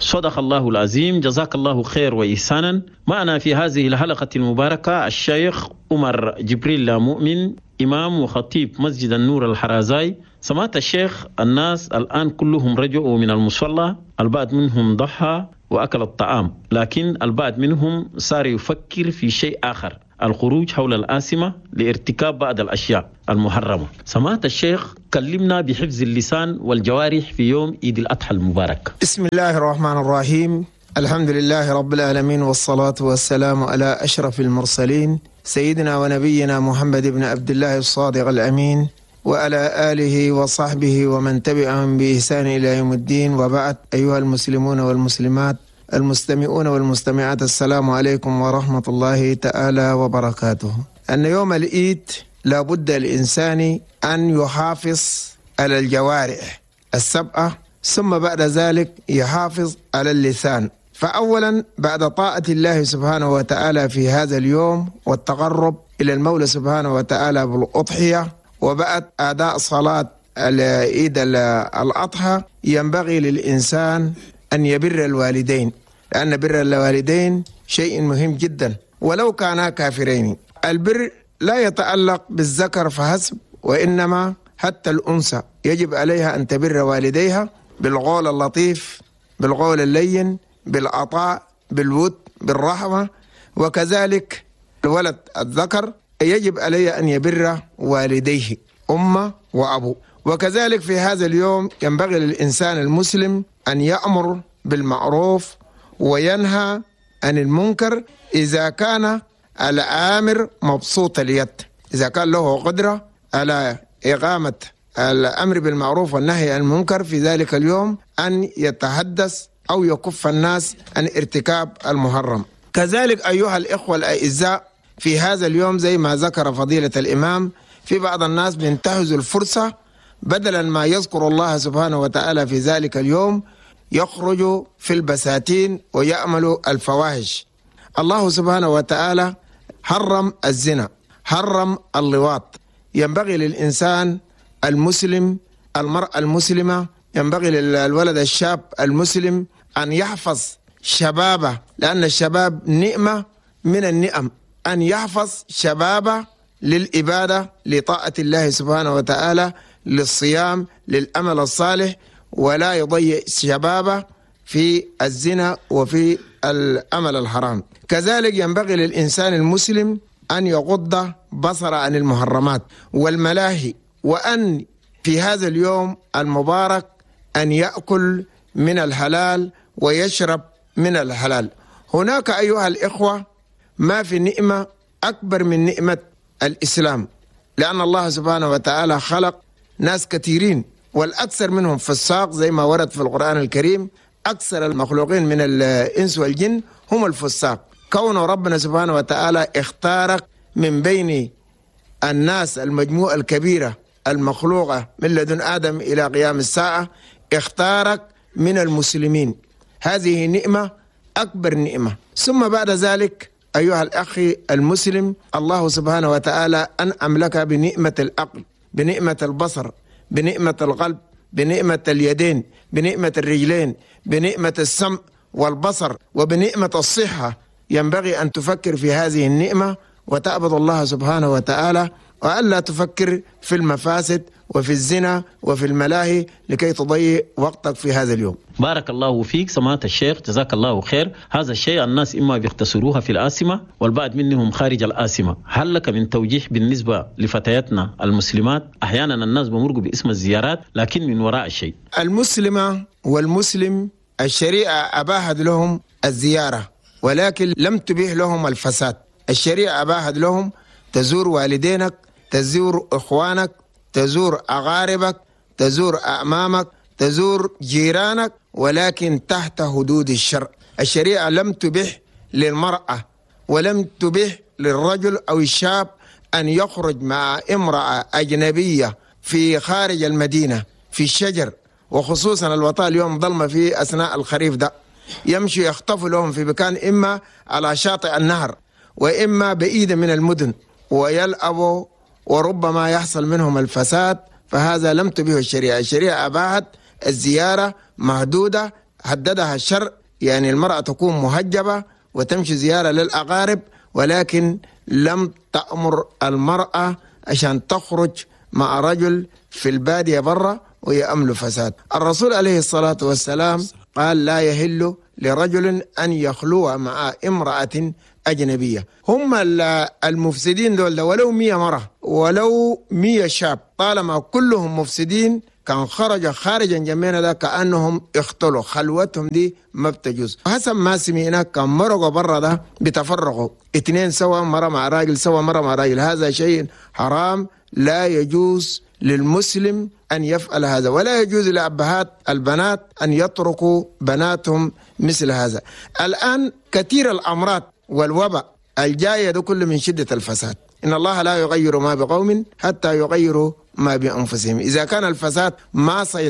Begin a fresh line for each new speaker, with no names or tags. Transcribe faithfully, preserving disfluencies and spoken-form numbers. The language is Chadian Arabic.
صدق الله العظيم. جزاك الله خير وإحسانا. معنا في هذه الحلقة المباركة الشيخ عمر جبريل مؤمن، إمام وخطيب مسجد النور الحرازاي. سمعت الشيخ، الناس الآن كلهم رجعوا من المصلى، البعض منهم ضحى وأكل الطعام، لكن البعض منهم صار يفكر في شيء آخر، الخروج حول العاصمة لارتكاب بعض الأشياء المحرمة. سمعت الشيخ، كلمنا بحفظ اللسان والجوارح في يوم عيد الأضحى المبارك.
بسم الله الرحمن الرحيم. الحمد لله رب العالمين، والصلاة والسلام على أشرف المرسلين، سيدنا ونبينا محمد بن عبد الله الصادق الأمين، وعلى آله وصحبه ومن تبعهم بإحسان إلى يوم الدين. وبعد، أيها المسلمون والمسلمات، المستمعون والمستمعات، السلام عليكم ورحمة الله تعالى وبركاته. أن يوم العيد لابد الإنسان أن يحافظ على الجوارح السبعة، ثم بعد ذلك يحافظ على اللسان. فأولا بعد طاعة الله سبحانه وتعالى في هذا اليوم والتقرب إلى المولى سبحانه وتعالى بالأضحية، وبعد أداء صلاة عيد الأضحى، ينبغي للإنسان أن يبر الوالدين، لأن بر الوالدين شيء مهم جدا ولو كانا كافرين. البر لا يتعلق بالذكر فحسب، وإنما حتى الأنثى يجب عليها أن تبر والديها بالقول اللطيف، بالقول اللين، بالعطاء، بالود، بالرحمة. وكذلك الولد الذكر يجب عليه أن يبر والديه، أمه وأبوه. وكذلك في هذا اليوم ينبغي للإنسان المسلم أن يأمر بالمعروف وينهى عن المنكر إذا كان الآمر مبسوط اليد، إذا كان له قدرة على إقامة الأمر بالمعروف والنهي عن المنكر في ذلك اليوم، أن يتحدث أو يكف الناس عن ارتكاب المحرم. كذلك أيها الإخوة الأعزاء، في هذا اليوم زي ما ذكر فضيلة الإمام، في بعض الناس بينتهزوا الفرصة، بدلا ما يذكر الله سبحانه وتعالى في ذلك اليوم يخرج في البساتين ويأمل الفواحش. الله سبحانه وتعالى حرم الزنا، حرم اللواط. ينبغي للإنسان المسلم، المرأة المسلمة، ينبغي للولد الشاب المسلم أن يحفظ شبابه، لأن الشباب نعمة من النعم، أن يحفظ شبابه للإبادة، لطاعة الله سبحانه وتعالى، للصيام، للأمل الصالح، ولا يضيع شبابه في الزنا وفي الأمل الحرام. كذلك ينبغي للإنسان المسلم أن يغض بصره عن المحرمات والملاهي، وأن في هذا اليوم المبارك أن يأكل من الحلال ويشرب من الحلال. هناك أيها الإخوة ما في نعمة أكبر من نعمة الإسلام، لأن الله سبحانه وتعالى خلق ناس كثيرين، والأكثر منهم فساق زي ما ورد في القرآن الكريم، أكثر المخلوقين من الإنس والجن هم الفساق. كون ربنا سبحانه وتعالى اختارك من بين الناس المجموعة الكبيرة المخلوقة من لدن آدم إلى قيام الساعة، اختارك من المسلمين، هذه نعمة أكبر نعمة. ثم بعد ذلك أيها الأخ المسلم، الله سبحانه وتعالى أنعم لك بنعمة العقل، بنعمة البصر، بنعمة القلب، بنعمة اليدين، بنعمة الرجلين، بنعمة السمع والبصر، وبنعمة الصحة. ينبغي أن تفكر في هذه النعمة وتعبد الله سبحانه وتعالى، وألا تفكر في المفاسد وفي الزنا وفي الملاهي لكي تضيع وقتك في هذا اليوم.
بارك الله فيك سماحة الشيخ، جزاك الله خير. هذا الشيء الناس إما بيختصروها في العاصمة والبعض منهم خارج العاصمة. هل لك من توجيه بالنسبة لفتياتنا المسلمات؟ أحيانا الناس بمرقوا باسم الزيارات لكن من وراء الشيء.
المسلمة والمسلم الشريعة أباحت لهم الزيارة، ولكن لم تبيح لهم الفساد. الشريعة أباحت لهم تزور والدينك، تزور إخوانك، تزور أقاربك، تزور أعمامك، تزور جيرانك، ولكن تحت حدود الشرع. الشريعة لم تبح للمرأة ولم تبح للرجل أو الشاب أن يخرج مع امرأة أجنبية في خارج المدينة في الشجر، وخصوصا الوطاء اليوم ظلمة في أثناء الخريف ده، يمشي يخطف لهم في مكان إما على شاطئ النهر وإما بعيدة من المدن ويلعبوا، وربما يحصل منهم الفساد. فهذا لم تبيه الشريعة. الشريعة أباحت الزيارة محدودة حددها الشرع، يعني المرأة تكون محجبة وتمشي زيارة للأقارب، ولكن لم تأمر المرأة عشان تخرج مع رجل في البادية برا ويأمل فساد. الرسول عليه الصلاة والسلام قال لا يهل لرجل أن يخلو مع امرأة أجنبية. هم المفسدين دول ولو مية مرة ولو مية شاب، طالما كلهم مفسدين كان خرج خارجا جميعنا ده كأنهم اختلوا، خلوتهم دي ما بتجوز. حسب ما سمعنا كان مرقوا برا ده بتفرقوا اثنين سوا، مرة مع راجل سوا، مرة مع راجل. هذا شيء حرام، لا يجوز للمسلم أن يفعل هذا، ولا يجوز لأبهات البنات أن يتركوا بناتهم مثل هذا. الآن كثير الأمراض والوباء الجاية ده كله من شدة الفساد. إن الله لا يغير ما بقوم حتى يغيروا ما بأنفسهم. إذا كان الفساد ما سيطر